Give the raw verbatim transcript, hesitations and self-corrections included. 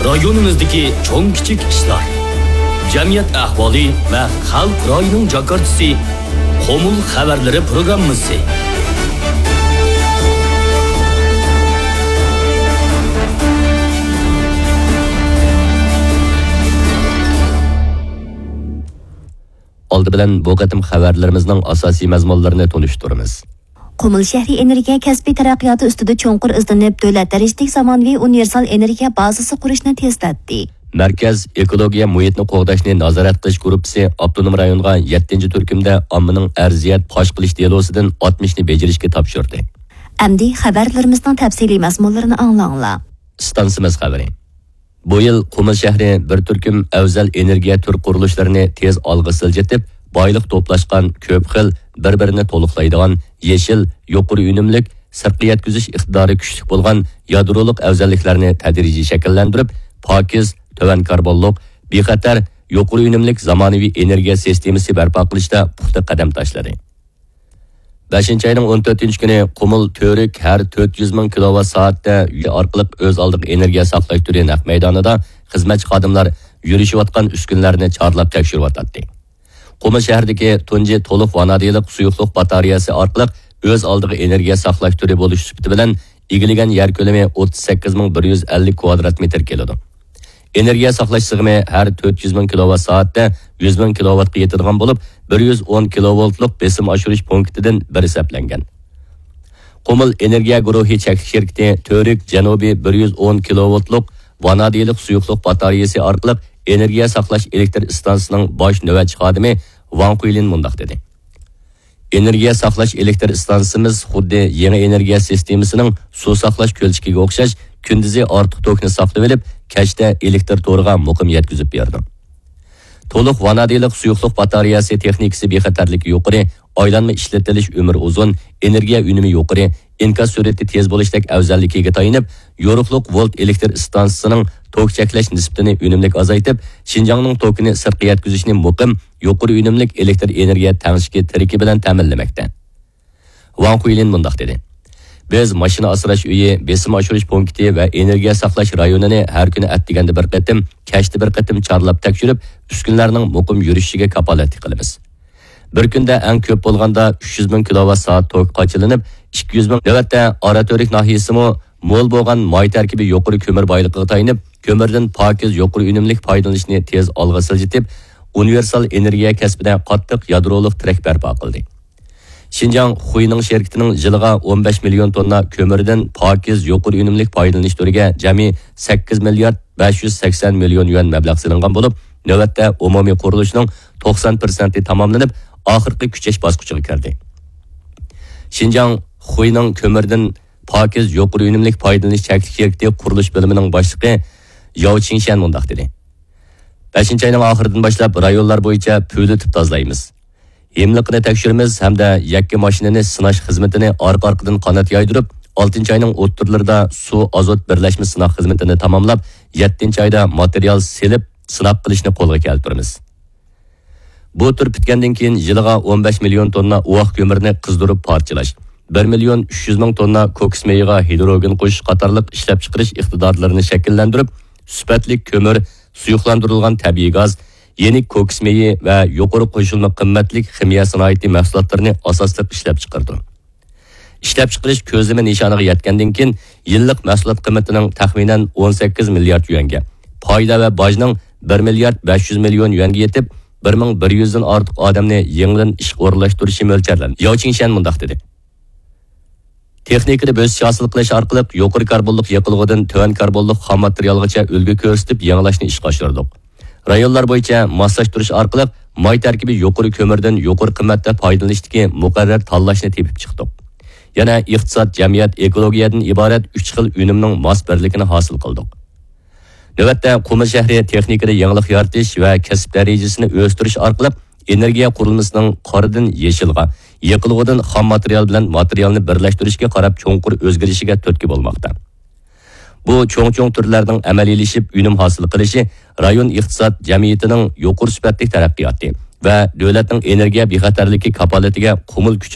رايونىمىزدىكى چوڭ كىچىك ئىشلار، جەمئىيەت ئەھۋالى ۋە خەلق رايىنىڭ جاكارتىسى، قۇمۇل خەۋەرلىرى پروگراممىسى. ئالدى بىلەن بۇ قېتىم خەۋەرلىرىمىزنىڭ ئاساسىي مەزمۇنلىرىنى تونۇشتۇرىمىز. قۇمۇل شەھىرى ئېنېرگىيە كەسپى تەرەققىياتى ئۈستىدە چوڭقۇر ئىزدىنىپ، دۆلەت دەرىجىلىك زامانىۋى ئۇنىۋېرسال ئېنېرگىيە بازىسى قۇرۇشنى تېزلەتتى. مەركەز ئېكولوگىيە مۇھىتنى قوغداشنى نازارەت قىلىش گۇرۇپپىسى ئاپتونوم رايونغا يەتتىنچى تۈركۈمدە ئاممىنىڭ ئەرزىيەت پاش قىلىش دېلوسىدىن ئاتمىشنى بېجىرىشكە تاپشۇردى. ئەمدى خەۋەرلىرىمىزنىڭ تەپسىلىي مەزمۇنلىرىنى ئاڭلاڭلار. ئىستانسىمىز خەۋىرى. بۇ يىل قۇمۇل شەھىرى بىر تۈركۈم ئەۋزەل ئېنېرگىيە تۈر قۇرۇلۇشلىرىنى تېز ئالغا سىلجىتىپ، بايلىق توپلاشقان، كۆپ خىل، بىر-بىرىنى تولۇقلايدىغان، يېشىل، يۇقىرى ئۈنۈملۈك، سىرتقا يەتكۈزۈش ئىقتىدارى كۈچلۈك بولغان يادرولۇق ئەۋزەللىكلەرنى تەدرىجىي شەكىللەندۈرۈپ، پاكىز، تۆۋەن كاربونلۇق، بىخەتەر، يۇقىرى ئۈنۈملۈك زامانىۋى ئېنېرگىيە سىستېمىسى بەرپا قىلىشتا پۇختا قەدەم تاشلىدى. بەشىنچى ئاينىڭ ئون تۆتىنچى كۈنى قۇمۇل تۈرك ھەر تۆت يۈز مىڭ كىلوۋات سائەتتە ئارقىلىق ئۆز ئالدىغا ئېنېرگىيە ساقلاش تۈرى نەق مەيدانىدا خىزمەتچى خادىملار يۈرۈشۈۋاتقان ئۈسكۈنىلەرنى چارلاپ تەكشۈرۈۋاتاتتى. قۇمۇل شەھىرىدىكى تۇنجى تولۇق ۋانادىلىق سۇيۇقلۇق باتارېيەسى ئارقىلىق ئۆز ئالدىغا ئېنېرگىيە ساقلاش تۈرى بولۇش سۈپىتى بىلەن ئىگىلىگەن يەر كۆلىمى ئوتتۇز سەككىز مىڭ بىر يۈز ئەللىك كۋادرات مېتىر كېلىدۇ. ئېنېرگىيە ساقلاش سىغىمى ھەر تۆت يۈز مىڭ كىلوۋات سائەتتە يۈز مىڭ كىلوۋاتقا يېتىدىغان بولۇپ، بىر يۈز ئون كىلوۋولتلۇق بېسىم ئاشۇرۇش پونكىتىدىن بىر ھېسابلانغان. قۇمۇل ئېنېرگىيە گۇرۇھى چەكلىك شىركىتى تۈرك جەنۇبىي بىر يۈز ئون كىلوۋولتلۇق ۋانادىلىق سۇيۇقلۇق باتارېيەسى ئارقىلىق ئېنېرگىيە ساقلاش ئېلېكتر ئىستانسىسىنىڭ باش نۆۋەتچى خادىمى ۋاڭ خۇيلىن مۇنداق دېدى. ئېنېرگىيە ساقلاش ئېلېكتر ئىستانسىسىمىز خۇددى يېڭى ئېنېرگىيە سىستېمىسىنىڭ سۇ ساقلاش كۆلچىكىگە ئوخشاش، كۈندۈزى ئارتۇق توكنى ساقلىۋېلىپ، كەچتە ئېلېكتر تورىغا مۇقىم يەتكۈزۈپ بېرىدۇ. تولۇق ۋانادىلىق سۇيۇقلۇق باتارېيەسى تېخنىكىسى بىخەتەرلىكى يۇقىرى، ئايلانما ئىشلىتىلىش ئۆمرى ئۇزۇن، ئېنېرگىيە ئۈنۈمى يۇقىرى، ئىنكاس سۈرئىتى تېز بولۇشتەك ئەۋزەللىكىگە تايىنىپ، يورۇقلۇق ۋولت ئېلېكتر ئىستانسىسىنىڭ توك چەكلەش نىسبىتىنى ئۈنۈملۈك ئازايتىپ، شىنجاڭنىڭ توكىنى سىرتقا يەتكۈزۈشنى مۇقىم، يۇقىرى ئۈنۈملۈك ئېلېكتر ئېنېرگىيە تەڭشىكى تىرىكى بىلەن تەمىنلىمەكتە. ۋاڭ خۇيلىن مۇنداق دېدى: بىز ماشىنا ئاسراش ئۆيى، بېسىم ئاشۇرۇش پونكىتى ۋە ئېنېرگىيە ساقلاش رايونىنى ھەر كۈنى ئەتىگەندە بىر قېتىم، كەچتە بىر قېتىم چارلاپ تەكشۈرۈپ، ئۈسكۈنىلەرنىڭ مۇقىم يۈرۈشۈشىگە كاپالەتلىك قىلىمىز. بىر كۈندە ئەڭ كۆپ بولغاندا ئۈچ يۈز مىڭ كىلوۋات سائەت توك قاچىلىنىپ، ئىككى يۈز مىڭ، نۆۋەتتە ئاراتۈرك ناھىيەسىمۇ مول بولغان ماي تەركىبى يۇقىرى كۆمۈر بايلىقىغا تايىنىپ، كۆمۈردىن پاكىز يۇقىرى ئۈنۈملۈك پايدىلىنىشنى تېز ئالغا سىلجىتىپ، ئۇنىۋېرسال ئېنېرگىيە كەسپىدە قاتتىق يادرولۇق تىرەك بەرپا قىلدى. شىنجاڭ خۇينىڭ شىركىتىنىڭ يىلىغا ئون بەش مىليون توننا كۆمۈردىن پاكىز يۇقىرى ئۈنۈملۈك پايدىلىنىش تۈرىگە جەمئىي سەككىز مىليارد بەش يۈز سەكسەن مىليون يۈەن مەبلەغ سېلىنغان بولۇپ، نۆۋەتتە ئومۇمىي قۇرۇلۇشنىڭ توقسان پىرسەنتى تاماملىنىپ، ئاخىرقى كۈچەش باسقۇچىغا كىردى. شىنجاڭ خۇينىڭ كۆمۈردىن پاكىز يۇقىرى ئۈنۈملۈك پايدىلىنىش چەكلىك شىركىتى قۇرۇلۇش بۆلۈمىنىڭ باشلىقى ياۋ چىڭشيەن مۇنداق دېدى: بەشىنچى ئاينىڭ ئاخىرىدىن باشلاپ رايونلار بويىچە پۈۋلىتىپ تازىلايمىز. ھىملىقىنى تەكشۈرىمىز ھەمدە يەككە ماشىنىنى سىناش خىزمىتىنى ئارقا-ئارقىدىن قانات يايدۇرۇپ، ئالتىنچى ئاينىڭ ئوتتۇرىلىرىدا سۇ ئازوت بىرلەشمە سىناق خىزمىتىنى تاماملاپ، يەتتىنچى ئايدا ماتېرىيال سېلىپ سىناق قىلىشنى قولغا كەلتۈرىمىز. بۇ تۈر پۈتكەندىن كېيىن يىلىغا ئون بەش مىليون توننا ئۇۋاق كۆمۈرنى قىزدۇرۇپ پارچىلاش، بىر مىليون ئۈچ يۈز مىڭ توننا كوكۇس مېيىغا ھىدروگېن قوشۇش قاتارلىق ئىشلەپچىقىرىش ئىقتىدارلىرىنى شەكىللەندۈرۈپ، سۈپەتلىك كۆمۈر، سۇيۇقلاندۇرۇلغان تەبىئىي گاز، يېنىك كوكۇس مېيى ۋە يۇقىرى قوشۇلما قىممەتلىك خىمىيە سانائىتى مەھسۇلاتلىرىنى ئاساسلىق ئىشلەپچىقىرىدۇ. ئىشلەپچىقىرىش كۆزلىمە نىشانىغا يەتكەندىن كېيىن، يىللىق مەھسۇلات قىممىتىنىڭ تەخمىنەن ئون سەككىز مىليارد يۈەنگە، پايدا ۋە باجنىڭ بىر مىليارد بەش يۈز مىليون يۈەنگە يېتىپ، بىر مىڭ بىر يۈزدىن ئارتۇق ئادەمنى يېڭىدىن ئىشقا ئورۇنلاشتۇرۇشى مۆلچەرلەندى. ياۋ چىڭشيەن مۇنداق دېدى: تېخنىكىدا بۆسۈش ھاسىل قىلىش ئارقىلىق يۇقىرى كاربونلۇق يېقىلغۇدىن تۆۋەن كاربونلۇق خام ماتېرىيالغىچە ئۈلگە كۆرسىتىپ يېڭىلاشنى ئىشقا ئاشۇردۇق. رايونلار بويىچە ماسلاشتۇرۇش ئارقىلىق ماي تەركىبى يۇقىرى كۆمۈردىن يۇقىرى قىممەتتە پايدىلىنىشتىكى مۇقەررەر تاللاشنى تېپىپ چىقتۇق. يەنە ئىقتىساد، جەمئىيەت، ئېكولوگىيەدىن ئىبارەت ئۈچ خىل ئۈنۈمنىڭ ماس بىرلىكىنى ھاسىل قىلدۇق. نۆۋەتتە قۇمۇل شەھىرى تېخنىكىدا يېڭىلىق يارىتىش ۋە كەسىپ دەرىجىسىنى ئۆستۈرۈش ئارقىلىق ئېنېرگىيە قۇرۇلمىسىنىڭ قارىدىن يېشىلغا، يېقىلغۇدىن خام ماتېرىيال بىلەن ماتېرىيالنى بىرلەشتۈرۈشكە قاراپ چوڭقۇر ئۆزگىرىشىگە تۈرتكە بولماقتا. بۇ چوڭ-چوڭ تۈرلەرنىڭ ئەمەلىيلىشىپ ئۈنۈم ھاسىل قىلىشى رايون ئىقتىساد جەمئىيىتىنىڭ يۇقىرى سۈپەتلىك تەرەققىياتى ۋە دۆلەتنىڭ ئېنېرگىيە بىخەتەرلىكى كاپالىتىگە قۇمۇل كۈچ